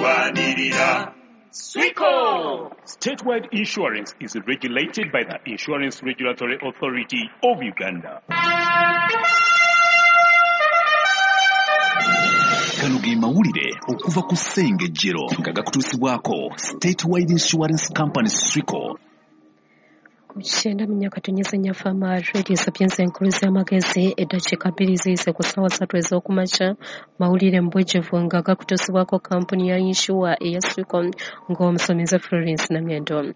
Tulwanirira Swico. Statewide Insurance is regulated by the Insurance Regulatory Authority of Uganda. Gano ge mawulire okuva ku Ssengejjero nga gakutuusibwako Statewide Insurance Company Swico. Ku 94.4 Fama Radio Sapienza enkulu z'amagezi, eddakiika 2 ziyise ku ssaawa 3 ez'okumakya. Mawulire mu bujjuvu nga gakutuusibwako kampuni ya yinsuwa eya Swico ng'omusomesa Florence Namyendo.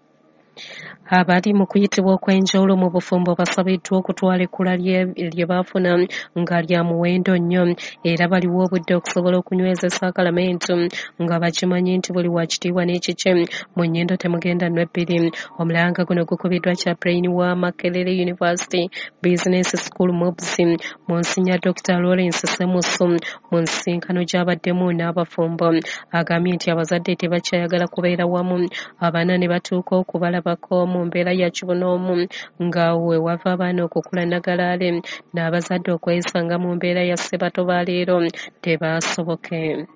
Abali mu kuyitibwa okw'enjawulo mu bufumbo basabiddwa okutwala ekkula lye baafuna nga lya muwendo nnyo, era baliwo obudde okusobola okunyweza essaakalamentu nga bakimanyi nti buli wa kitiibwa n'ekikye mu nnyindo temugenda nnwa ebbiri. Omulanga guno gukubiddwa Chaplain wa Makerere University Business School MUBS Monsignor Dr. Lawrence Semusu mu nsisinkano gy'abaddemu n'abafumbo. Agambye nti abazadde tebakyayagala kubeera wamu, abaana ne batuuka okubalabako mu mbeera ya kibonoomu nga we wava abaana okukula nagalaale n'abazadde okwesanga mu mbeera ya ssebato ba leero tebaasoboke.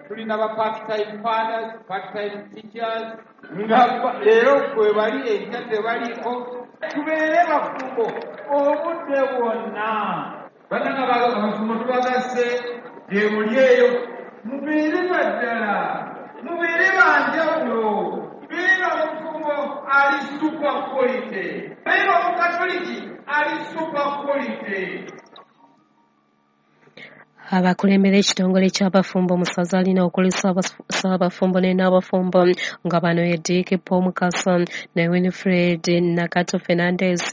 Tulina ba part-time fathers, part-time teachers nga leero kwe bali enkya tebaliko. Tubeere bafumbo obudde bwonna. Bannange abafumbo tubagasse gye muli eyo, mubeere baddala, mubeere banjawulo. Beera mufumbo ali super quality, beera omukatoliki ali super quality. Abakulembera ekitongole ky'abafumbo mu ssaza lino okuli Ssaabafumbo ne Nnaabafumbo nga bano ye Dick Paul Mukasa ne Winifred Nakato Fernandez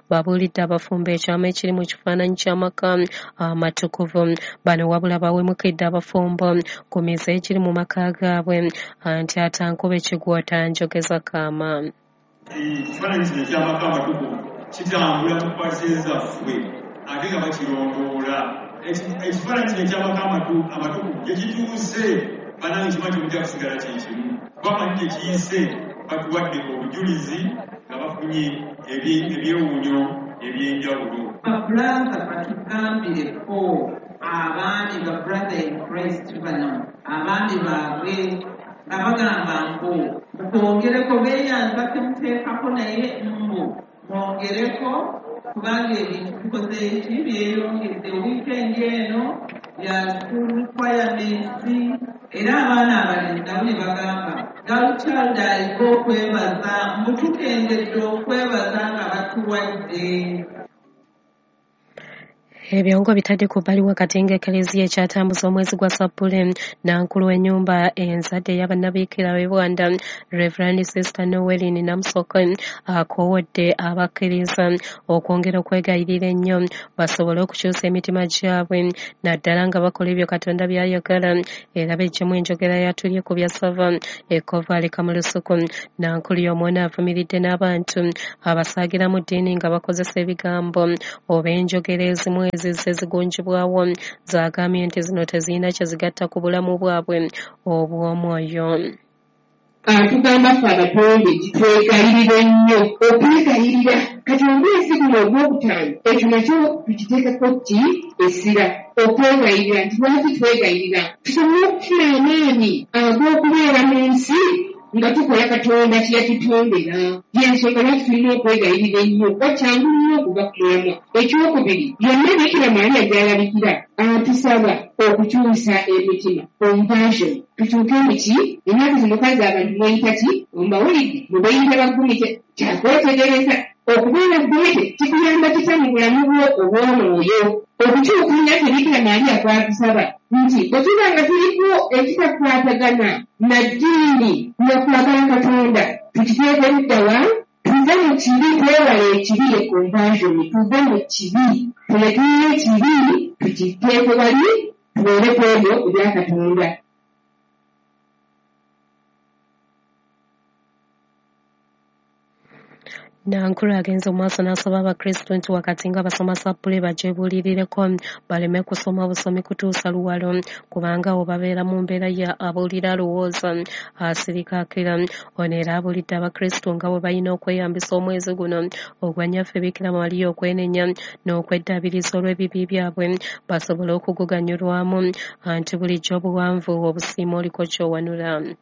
babuulidde abafumbo ekyama ekiri mu kifaananyi ky'amaka amatukuvu. Bano wabula bawemukidde abafumbo ku mize egiri mu maka gaabwe anti atankube kigwota njogeza kaama. Ekifaananyi kino eky'amaka amatukuvu kitambula mu paasi zaffe ate nga bakirondoola. Ekifaananyi kino eky'amaka amatukuvu gye kituuse bannange kiba temujja kusigala kye kimu, kuba manyi gye kiyise batuwadde obujulizi nga bafunye ebyewuunyo eby'enjawulo. Babrother batugambireko abaami ba brother in Christ bano abaami baabwe nga bagamba mbu mukwongereko beeyanza temuteekako naye mbu mwongereko kubanga ebintu bikoze eki byeyongedde. Wiikendi eno ya school requirements era abaana abalenzi nabo ne bagamba girl child aliko okwebaza mbu tukendedde okwebaza nga batuwadde. Ebyongo bitadde ku bbali wakati ng'Eklezia ekyatambuza omwezi gwa Ssappule. Nankulu w'ennyumba enzadde ey'abannabiikira b'e Bwanda Reverend Sister Noeline Namusoke akoowodde abakkiriza okwongera okwegayirira ennyo basobole okukyusa emitima gyabwe naddala nga bakola ebyo Katonda by'ayagala era beggyemu enjogera ya tulye ku byassava ekkovu aleka mu lusuku. Nankulu y'omwana avumiridde n'abantu abasaagira mu ddiini nga bakozesa ebigambo oba enjogera ezimu ezizze zigunjibwawo z'agambye nti zino tezirina kye zigatta ku bulamu bwabwe obw'omwoyo. Atugamba ffe abatonde twegayirire nnyo okwegayirira. Kati omwezi guno ogwokutaano ekyo nakyo tukiteekako ki essira, okwegayirira nti lwaki twegayirira tusobole okufuna amaanyi ag'okubeera mu nsi nga tukola Katonda kye yatutondera. Y'ensonga lwaki tulina okwegayirira ennyo kuba kyangu nnyo okuva ku mulamwa. Ekyokubiri, yonna Bikira Maria gy'alabikira atusaba okukyusa emitima, conversion, tukyuke mu ki? Ennaku zino kazi abantu mweyita ki? Mbawulidde mubeeyita bagumite. Kyakwetegereza okubeera gumite kikuyamba kitya mu bulamu bwo obw'omwoyo? Okukyuka naffe Bikira Maria kwatusaba nti bwe tuba nga tuliko ekitakwatagana na ddiini na kwagala Katonda tukiteeke ludda wa? Tuve mu kibi, twewale ekibi, ye conversion, tuve mu kibi, tulekeyo ekibi tukiteeke wali tubeere ku ebyo ebya Katonda. Nankulu agenze mu maaso n'asaba Abakristu nti wakati nga basoma ssappule bagyebuulirireko baleme kusoma busomi kutuusa luwalo, kubanga awo babeera mu mbeera ya abuulira alowooza asirika akira. Ono era abuulidde Abakristu nga bwe balina okweyambisa omwezi guno ogwa Nnyaffe Bikira Maria okwenenya n'okweddaabiriza olw'ebibi byabwe basobole okuguganyulwamu, anti bulijjo obuwanvu obusiima oliko ky'owanula.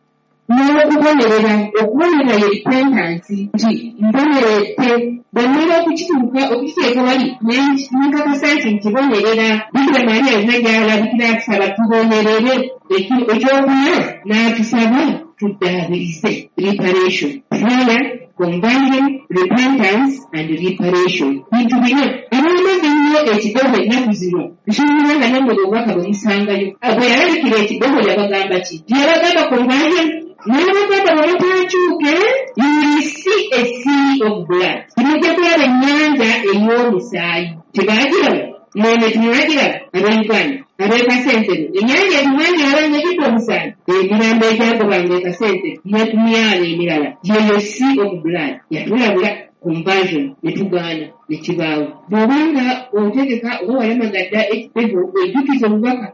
N'okubonerera, okubonerera ye repentance, nti mboneredde bwe mmala okukituuka okukiteeka wali ne nkakasa nti nkibonerera. Bikira Maria yonna gy'alabikira atusaba tubonerere. Ekyokuna n'atusaba tuddaabirize, reparation, prayer, conversion, repentance and reparation, bintu bina. Abaamaze ennyo ekigogo ennaku zino, nsuubira nga nammwe obubaka bwe musangayo. Bwe yalabikira ekigogo yabagamba ki? Yabagamba conversion, n'abagamba bwe mutaakyuke, you will see a sea of blood, mujja kulaba ennyanja ey'omusaayi. Tebaagiraba? Mwene temwagiraba? Ab'Uganda ab'e Kasensero, ennyanja etumwagiraba nga ejjudde omusaayi, emirambo egyagobanga e Kasensero ne ku myalo emirala, yeyo sea of blood. Yatulabula conversion ne tugaana ne kibaawo. Bw'obanga otegeka oba walamaga dda ekitego, ojjukiza obubaka.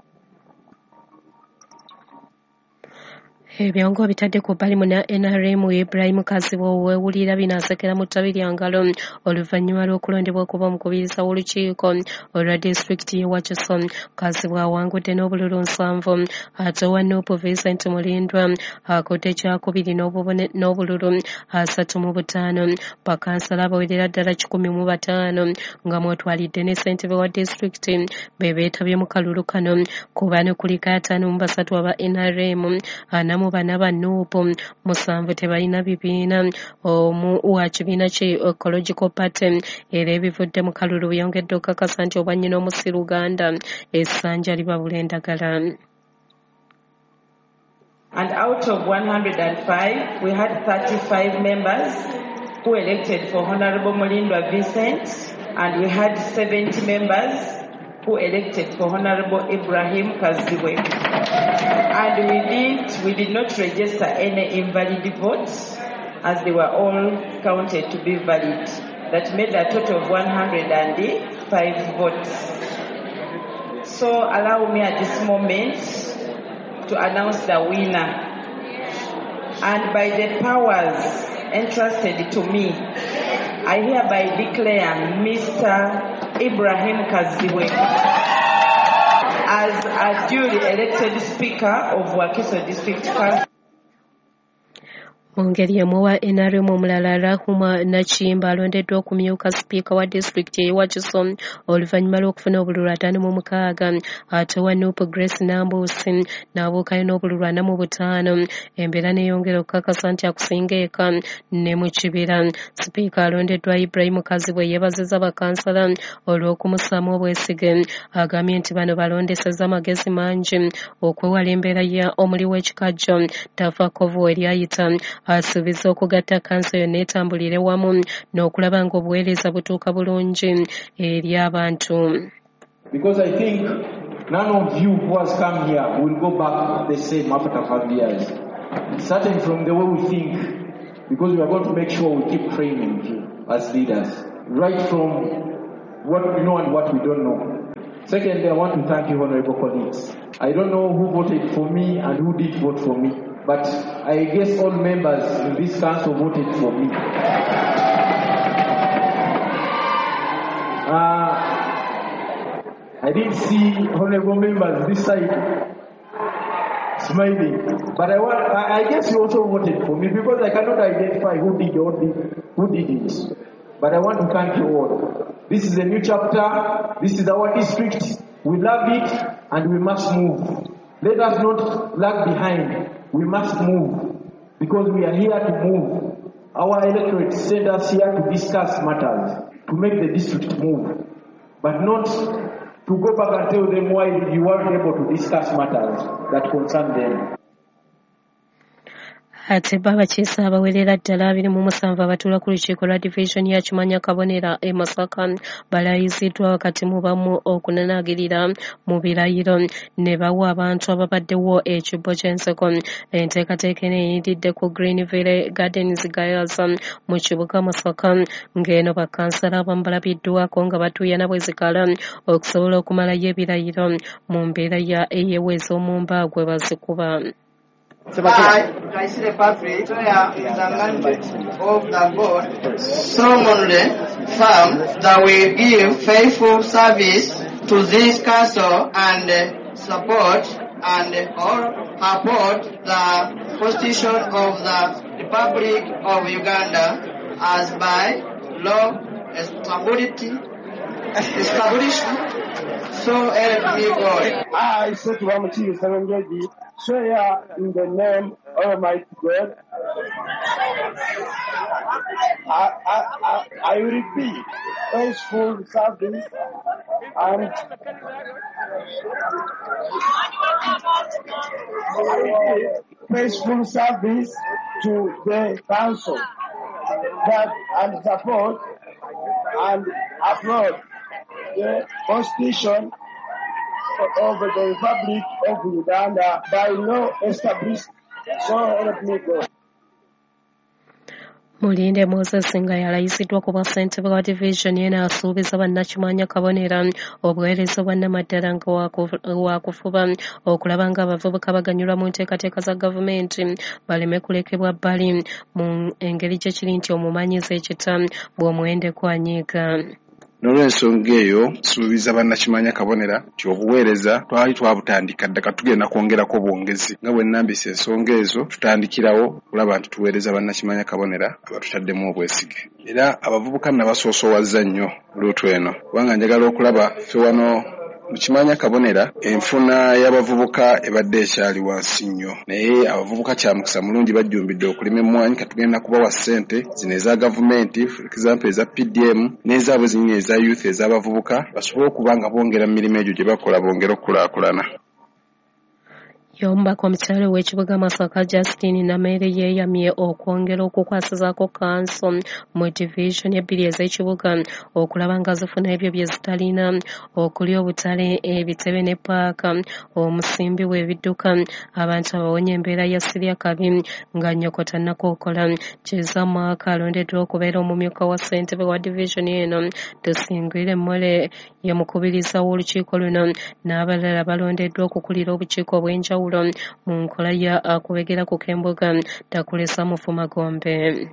Ebyo ng'obitadde ku bbali, munna NRM Ibrahim Kazibwe weewulira bino asekera mu ttabi lya ngalo oluvannyuma lw'okulondebwa okuba omukubiriza w'olukiiko olwa disitulikiti y'e Wakiso. Kazibwe awangudde n'obululu 70, ate owa NUP Vincent Mulindwa akudde kyakubiri n'obululu 35. Bakansala abawerera ddala 105 nga mw'otwalidde ne ssentebe wa disitulikiti be beetabye mu kalulu kano. Ku bano kuliko 53 aba NRM, 44 ba NUP, 7 tebalina bibiina, omu wa kibiina ki Ecological Party. Era ebivudde mu kalulu byongedde okukakasa nti obwannyina omusi Luganda essanja libabula endagala. And out of 105, we had 35 members who elected for Honorable Mulindwa Vincent, and we had 70 members who elected for Honorable Ibrahim Kazibwe. And we did not register any invalid votes, as they were all counted to be valid. That made a total of 105 votes. So allow me at this moment to announce the winner. And by the powers entrusted to me, I hereby declare Mr. Ibrahim Kazibwe as a duly elected Speaker of Wakiso District Council. Mu ngeri emu, wa NRM omulala Rahuma Nakiyimba alondeddwa okumyuka sipiika wa disitulikiti ey'e Wakiso oluvannyuma lw'okufuna obululu 56, ate owa NUP Grace Nambuusi n'abuukayo n'obululu 45. Embeera neeyongera okukakasa nti akusinga eka ne mu kibira. Sipiika alondeddwa Ibrahim Kazibwe yeebazizza bakansala olw'okumussaamu obwesige. Agambye nti bano balondesezza amagezi mangi okwewala embeera ya omuli w'ekikajjo tafakovu eryayita. Asuubiza okugatta kanso yonna etambulire wamu n'okulaba ng'obuweereza butuuka bulungi eri abantu. Because I think none of you who has come here will go back the same after 5 years. Starting from the way we think, because we are going to make sure we keep training you as leaders, right from what we know and what we don't know. Secondly, I want to thank you, honorable colleagues. I don't know who voted for me and who did vote for me, but I guess all members in this council voted for me. I didn't see honorable members this side smiling, but I guess you also voted for me because I cannot identify who did or who didn't. But I want to thank you all. This is a new chapter. This is our district. We love it and we must move. Let us not lag behind. We must move because we are here to move. Our electorate sent us here to discuss matters, to make the district move, but not to go back and tell them why you weren't able to discuss matters that concern them. Ate bo abakiise abawerera ddala 27 abatuula ku lukiiko lwa divizoni ya Kimanya Kabonera e Masaka balayiziddwa wakati mu bamu okunanaagirira mu birayiro ne bawa abantu ababaddewo ekibbo ky'enseko. Enteekateeka eno eyindidde ku Greenville Gardens Gayaza mu kibuga Masaka, ng'eno bakkansala abamu balabiddwako nga batuuyana bwe zikala okusobola okumalayo ebirayiro mu mbeera ya eyeweeza omumba gwe bazikuba. I, Kaisire Patrick, swear in the name of the God, solemnly affirm that we give faithful service to this council and support and uphold the Constitution of the Republic of Uganda as by law established, so help me God. I, Setuba Mukiibi Sserunjogi, swear in the name of Almighty God, I will be faithful service and faithful service to the council that and support and uphold the Constitution of the Republic of Uganda by law established, so help me God. Mulinde Moses nga yalayiziddwa ku bwa ssentebe wa divizoni eno asuubiza bannakimanya Kabonera obuweereza obwa nnamaddala nga waakufuba okulaba ng'abavubuka baganyulwa mu nteekateeka za gavumenti baleme kulekebwa bbali mu engeri gye kiri nti omumanyiza ekita bw'omuwendeko anyiiga. N'olwensonga eyo nsuubiza bannakimanya Kabonera nti obuweereza twali twabutandika dda, kati tugenda kwongerako bwongezi nga bwe nnambisa ensonga ezo, tutandikirawo okulaba nti tuweereza bannakimanya Kabonera abatutaddemu obwesige. Era abavubuka nabasoosowazza nnyo luutu eno, kubanga njagala okulaba ffe wano mu Kimanya Kabonera enfuna y'abavubuka ebadde ekyali wansi nnyo, naye abavubuka kya mukisa mulungi bajjumbidde okulima emmwanyi. Katugenda kubawa ssente zino eza gavumenti, for example eza PDM n'ezaabwe zinnyini eza youth ez'abavubuka, basobole okuba nga bongera mu mirimu egyo gye bakola, bongere okukulaakulana. Y'omubaka omukyala ow'ekibuga Masaka Justine Nameere yeeyamye okwongera okukwasizaako kkanso mu divizoni ebbiri ez'ekibuga okulaba nga zifuna ebyo bye zitalina okuli obutale, ebitebe ne ppaaka omusimbi w'ebidduka abantu abawonye embeera ya sirya kabi nga nnyoko tannakookola. Kiza Mark alondeddwa okubeera omumyuka wa ssentebe wa divizoni eno. Tusingwire Mmole ye mukubiriza w'olukiiko luno n'abalala balondeddwa okukulira obukiiko obw'enjawulo mu nkola ya akubegera ku k'embuga Takulesa Mufu Magombe.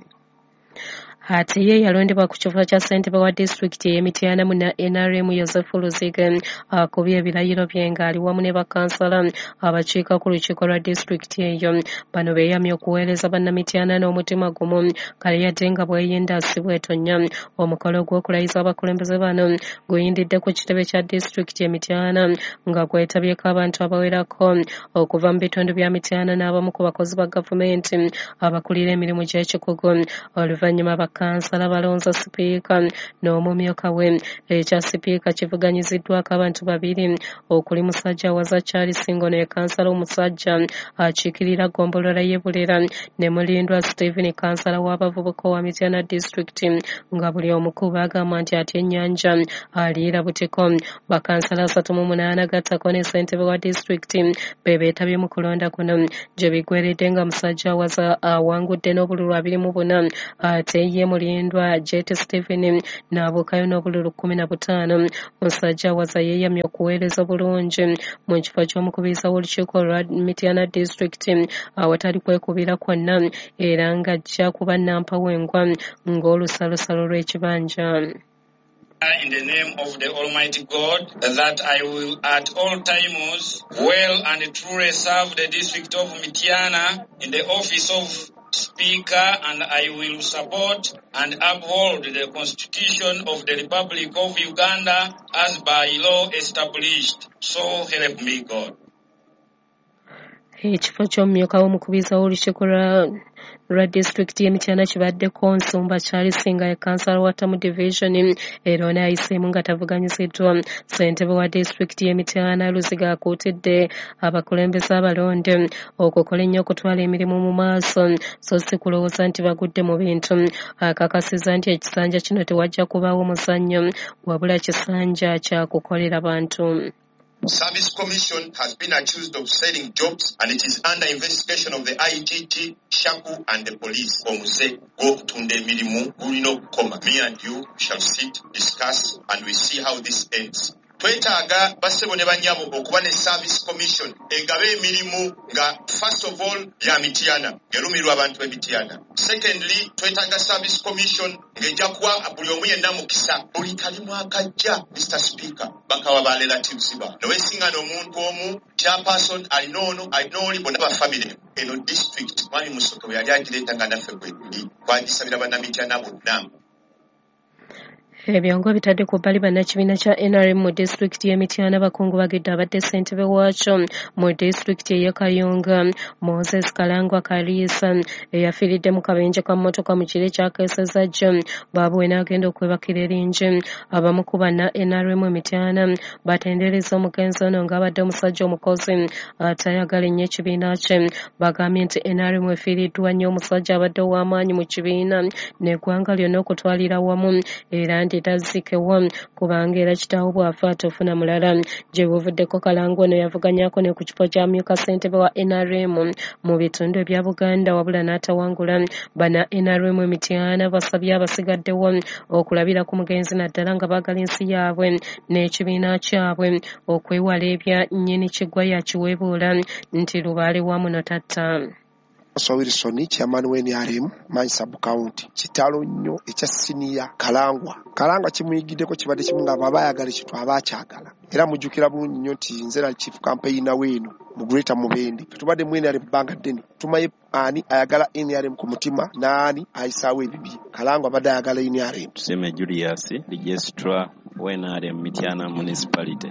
Ate ye yalondebwa ku kifo kya ssentebe wa disitulikiti ey'e Mityana mu NRM Yosefu Luzige akubye ebirayiro bye ng'ali wamu ne bakkansala abakiika ku lukiiko lwa disitulikiti eyo. Bano beeyamye okuweereza bannamityana n'omutima gumu kale yadde nga bweyinda si bwetonya. Omukolo gw'okulayiza abakulembeze bano guyindidde ku kitebe kya disitulikiti e Mityana nga gwetabyeko abantu abawerako okuva mu bitundu bya Mityana n'abamu ku bakozi ba gavumenti abakulira emirimu gy'ekikugu. Oluvannyuma bakkansala balonze sipiika n'omumyuka we. Ekya sipiika kivuganyiziddwako abantu babiri okuli musajja Waza Charles Ngono ye kansala omusajja akiikirira ggombolola y'e Bulera ne Mulindwa Stephen kansala w'abavubuka owa Mityana disitulikiti nga buli omu ku bagamba nti atya ennyanja aliira butiko. Bakansala 38 gattako ne ssentebe wa disitulikiti be beetabye mu kulonda kuno gye biggweredde nga musajja Waza awangudde n'obululu 24 ate ye Mulindwa Jet Stephen n'abuukayo n'obululu 15. Musajja Waza yeeyamye okuweereza bulungi mu kifo ky'omukubiriza w'olukiiko lwa Mityana disitulikiti awatali kwekubira kwonna era ng'ajja kuba nnampawengwa ng'olusalosalo lw'ekibanja. In the name of the Almighty God, that I will at all times well and truly serve the district of Mityana in the office of Speaker, and I will support and uphold the Constitution of the Republic of Uganda as by law established. So help me God. Ekifo ky'omumyuka w'omukubiriza w'olukiiko lwa disitulikiti y'e Mityana kibaddeko Nsumba Charles nga ye kkansala wa Tamu Division era ono ayiseemu nga tavuganyiziddwa. Ssentebe wa disitulikiti y'e Mityana Luziga akuutidde abakulembeze abalonde okukola ennyo okutwala emirimu mu maaso so si kulowooza nti bagudde mu bintu. Akakasizza nti ekisanja kino tewajja kubaawo muzannyo wabula kisanja kya kukolera bantu. Service Commission has been accused of selling jobs and it is under investigation of the IGG, Shaku and the police. Omuze gw'okutunda emirimu gulina okukoma. Me and you shall sit, discuss and we see how this ends. Twetaaga bassebo ne bannyabo okuba ne Service Commission egaba emirimu nga first of all ya Mityana, ng'erumirwa abantu b'e Mityana. Secondly, twetaaga Service Commission ng'ejja kuwa buli omu yenna mukisa. Buli kalimu akajja, Mr. Speaker, bakawa ba relatives ba. Neweesingana omuntu omu, chairperson alina ono, alina oli, bonna ba family. Eno district, Mwami Musoke bwe yali agireeta nga naffe bwe tuli, twagisabira bannamityana bonna. Ebyongo bitadde ku bbali bannakibiina kya NRM mu disitulikiti y'e Mityana bakungubagidde abadde ssentebe waakyo mu disitulikiti ey'e Kayunga Moses Kalangwa Kaliisa eyafiiridde mu kabenje ka mmotoka mu kiro ekyakeesezza jjo baabuwe n'agenda okwebakira eringi. Abamu ku banna NRM e Mityana batendereza omugenzi ono ng'abadde omusajja omukozi atayagala ennyo ekibiina kye. Bagambye nti NRM efiiriddwa nnyo omusajja abadde ow'amaanyi mu kibiina n'eggwanga lyonna okutwalira wamu era nti tazikewa kubanga era kitaawo bw'afa tofuna mulala. Gye buvuddeko Kalangwa ono yavuganyaako ne ku kifo kya myuka ssentebe wa NRM mu bitundu ebya Buganda wabula n'atawangula. Bana NRM e Mityana basabye abasigaddewo okulabira ku mugenzi naddala nga baagala ensi yaabwe n'ekibiina kyabwe okwewala ebya nnyini kigwa ya kiweebuula nti lubaale wa muno tatta. Wilson chairman wa NRM Manyi sub county. Kitalo nnyo ekya senior Kalangwa. Kalangwa kimuyigiddeko kibadde kimu nga baba ayagala ekintu aba akyagala. Era mujjukira bulungi nnyo nti nze nali chief campaigner weeno mu Greater Mubende. Tubadde mu NRM bbanga ddene. Tumanyi ani ayagala NRM ku mutima n'ani ayisaawo ebibi. Kalangwa abadde ayagala NRM. Tuseme Julius, registrar wa NRM Mityana Municipality.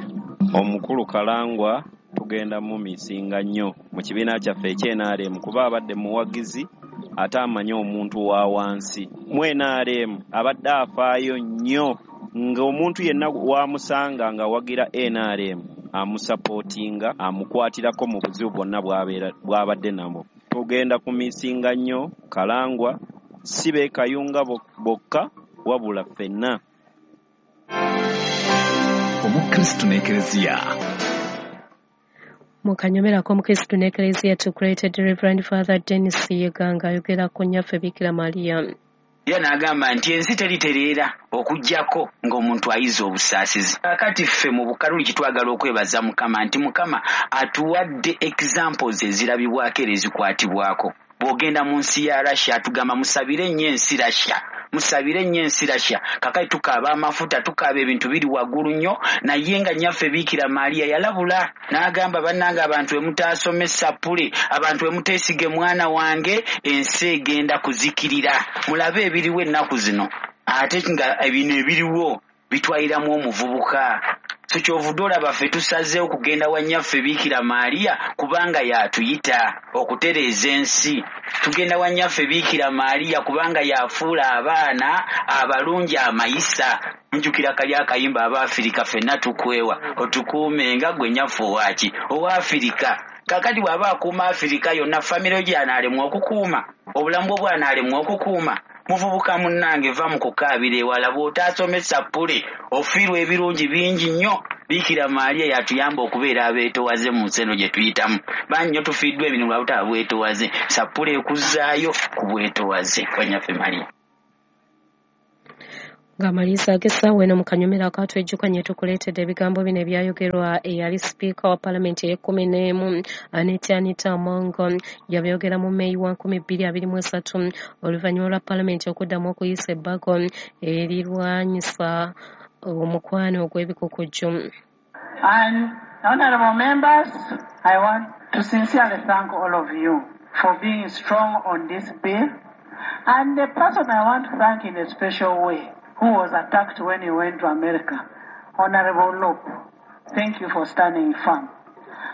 Omukulu Kalangwa tugenda mu misinga nnyo mu kibiina kyaffe eky'NRM kuba abadde muwagizi ate amanyi omuntu wa wansi. Mu NRM abadde afaayo nnyo ng'omuntu yenna wamusanga ng'awagira NRM amusapootinga amukwatirako mu buzibu bwonna bw'abadde nabwo. Tugenda ku misinga nnyo Kalangwa si be Kayunga bokka wabula ffenna. Omukristu n'Ekereziya. Mu kanyomero ak'Omukristu n'Ekereziya tukuleetedde Reverend Father Dennis Yiga ng'ayogera ku nnyaffe Bikira Maria. Era n'agamba nti ensi teritereera okuggyako ng'omuntu ayiza obusaasizi. Kaakati ffe mu Bukaluliki twagala okwebaza Mukama nti Mukama atuwadde examples ezirabibwako era ezikwatibwako. Bw'ogenda mu nsi ya Russia atugamba musabire nnyo ensi Russia. Musabire nnyo ensi Russia. Kakati tukaaba amafuta, tukaaba ebintu biri waggulu nnyo, naye nga nnyaffe Bikira Maria yalabula n'agamba bannange abantu bwe mutaasome sappule, abantu bwe muteesige mwana wange, ensi egenda kuzikirira. Mulabe ebiriwo ennaku zino, ate nga bino ebiriwo bitwaliramu omuvubuka. So kyovudde olaba ffe tusazeewo okugenda wa nnyaffe Bikira Maria kubanga y'atuyita okutereeza ensi. Tugenda wa nnyaffe Bikira Maria kubanga y'afuula abaana abalungi amayisa. Njukira kali akayimba Abaafirika ffenna tukwewa otukuume nga ggwe nnyaffe owaaki Owaafirika. Kaakati bw'aba akuuma Afirika yonna, famire gy'anaalemwa okukuuma, obulamu bwo bw'anaalemwa okukuuma. Muvubuka munnange va mu kukaabira ewala, bw'otaasome sappule ofiirwa ebirungi bingi nnyo. Bikira Maria yatuyamba okubeera abeetowaze mu nsi eno gye tuyitamu. Bangi nnyo tufiiddwa ebintu lwa butaba bwetowaze. Sappule ekuzzaayo ku bwetowaze kwa nnyaffe Maria. Ng'amaliriza ag'essaawa eno mu kanyomero akatwejjukanye tukuleetedde ebigambo bino ebyayogerwa eyali sipiika wa paalamenti ey'ekkumi n'emu Anita Anita Among. Yabyogera mu Meeyi wa 2023 oluvannyuma lwa paalamenti okuddamu okuyisa ebbago erirwanyisa omukwano ogw'ebikukujju. And honorable members, I want to sincerely thank all of you for being strong on this bill. And the person I want to thank in a special way, who was attacked when he went to America, Honorable Lop, thank you for standing firm.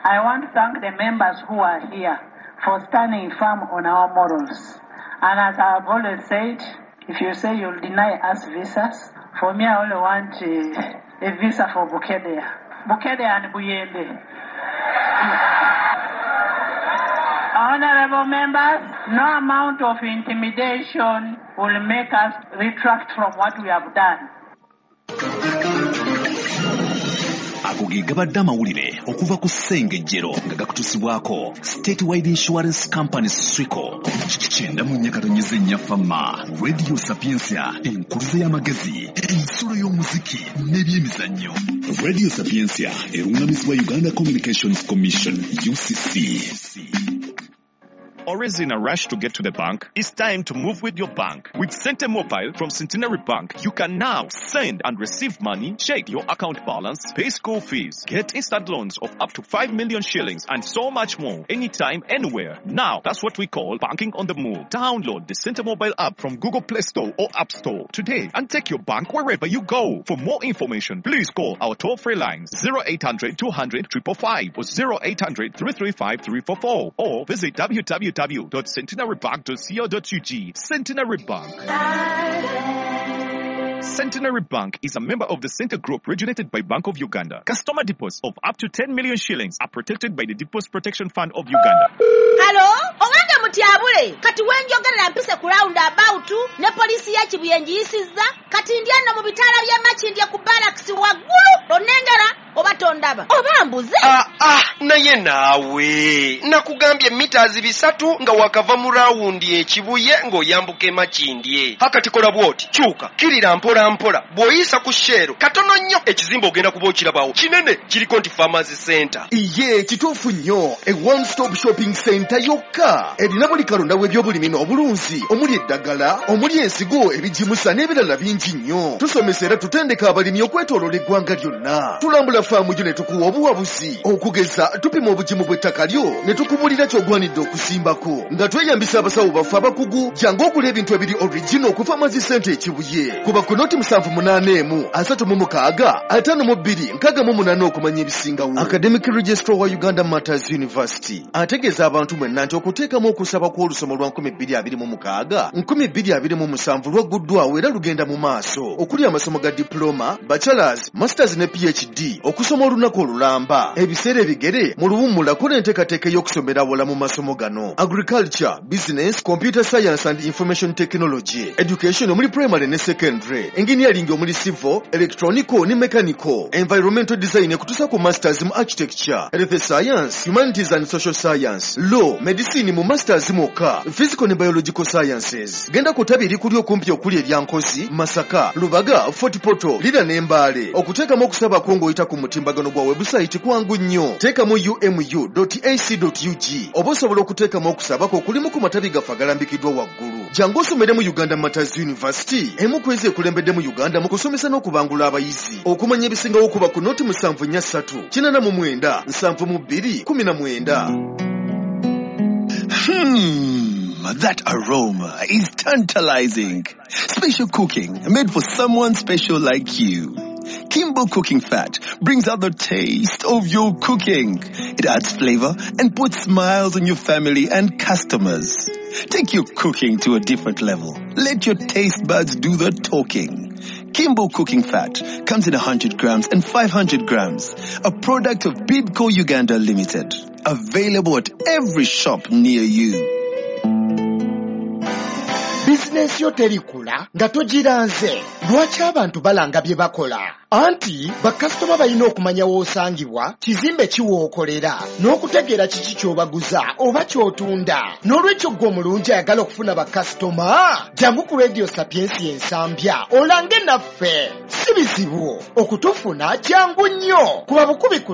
I want to thank the members who are here for standing firm on our morals. And as I've always said, if you say you'll deny us visas, for me I only want a visa for Bukedea. Bukedea and Buyende. Honorable members, no amount of intimidation will make us retract from what we have done. Ago ge gabadde amawulire okuva ku Ssengejjero nga gakutuusibwako Statewide Insurance Company Swico. 94.4 Fama Radio Sapientia, enkuluze y'amagezi, ensulo y'omuziki n'ebyemizannyo. Radio Sapientia erungamizibwa Uganda Communications Commission, UCC. Always in a rush to get to the bank? It's time to move with your bank. With Sente Mobile from Centenary Bank, you can now send and receive money, check your account balance, pay school fees, get instant loans of up to 5 million shillings, and so much more. Anytime, anywhere. Now, that's what we call banking on the move. Download the Sente Mobile app from Google Play Store or App Store today and take your bank wherever you go. For more information, please call our toll-free lines 0800 200 555 or 0800 335 344 or visit www.centenarybank.co.ug. Centenary Bank. Centenary Bank is a member of the Center Group regulated by Bank of Uganda. Customer deposits of up to 10 million shillings are protected by the Deposit Protection Fund of Uganda. Hello? Owange mutyabule. Kati wenjogerera mpise ku round about ne polisi ya Kibuye njiyisizza. Kati ndi ano mu bitaala bya Makindye ku barracks waggulu. Onengera oba tondaba. Oba mbuze. Naye naawe nakugambye mita 300 nga wakava mu rawundi ekibuye ng'oyambuka Makindye. Hakati kola bw'oti, kyuka, kirira mpola mpola, bw'oyisa ku Shell katono nnyo ekizimbe ogenda kuba okirabawo kinene kiriko nti Farmers Center. Iye kituufu nnyo, a one stop shopping center yokka erina buli kalonda w'ebyobulimi n'obulunzi, omuli eddagala, omuli ensigo, ebigimusa n'ebirala bingi nnyo. Tusomesa era tutendeka abalimi okwetooloola eggwanga lyonna. Tulambula faamu yo ne tukuwa obuwabuzi, okugeza tupima obugimu bw'ettaka lyo ne tukubulira ky'ogwanidde okusimbako nga tweyambisa abasawo baffe abakugu. Jangu ogula ebintu ebiri original ku Farmers Center Ekibuye. Kuba ku noti 781 36 52 68 okumanya ebisingawo. Academic Registrar wa Uganda Matters University ategeeza abantu mwenna nti okuteekamu okusaba kw'olusomo lwa 2026 2027 lwagguddwawo era lugenda mu maaso, okuli amasomo ga diploma, bachelors, masters ne PhD, okusoma olunaku olulamba, ebiseera ebigere mu luwummula kola enteekateeka ey'okusomera awala mu masomo gano: agriculture, business, computer science and information technology, education omuli primary ne secondary, engineering omuli civil, electronical ne mechanical, environmental design ekutuusa ku masters mu architecture, health science, humanities and social science, law, medicine mu masters mwokka, physical ne biological sciences. Genda ku ttabi erikuli okumpi okuli erya Nkozi, Masaka, Lubaga, Fort Portal, Lira ne Mbale. Okuteekamu okusaba kwo ng'oyita ku mutimbagano gwa webusayiti kwangu nnyo. Teekamu umu.ac.ug oba osobola okuteekamu okusaba kwo okulimu ku matabi gaffe agalambikiddwa waggulu. Jangu osomere mu Uganda Matters University, emu ku ezo ekulembedde mu Uganda mu kusomesa n'okubangula abayizi. Okumanya ebisingawo kuba ku noti 743 89 72 19. That aroma is tantalizing. Special cooking made for someone special like you. Kimbo Cooking Fat brings out the taste of your cooking. It adds flavor and puts smiles on your family and customers. Take your cooking to a different level. Let your taste buds do the talking. Kimbo Cooking Fat comes in 100 grams and 500 grams. A product of Bidco Uganda Limited. Available at every shop near you. Bizinensi yo terikula nga togiranze. Lwaki abantu balanga bye bakola? Anti bakasitoma balina okumanya w'osangibwa, kizimbe ki w'okolera, n'okutegeera kiki ky'obaguza oba ky'otunda. N'olwekyo ggwe omulungi ayagala okufuna bakasitoma, jangu ku Radio Sapiensia Ensambya olange naffe. Si bizibu okutufuna, jangu nnyo kuba bukubi ku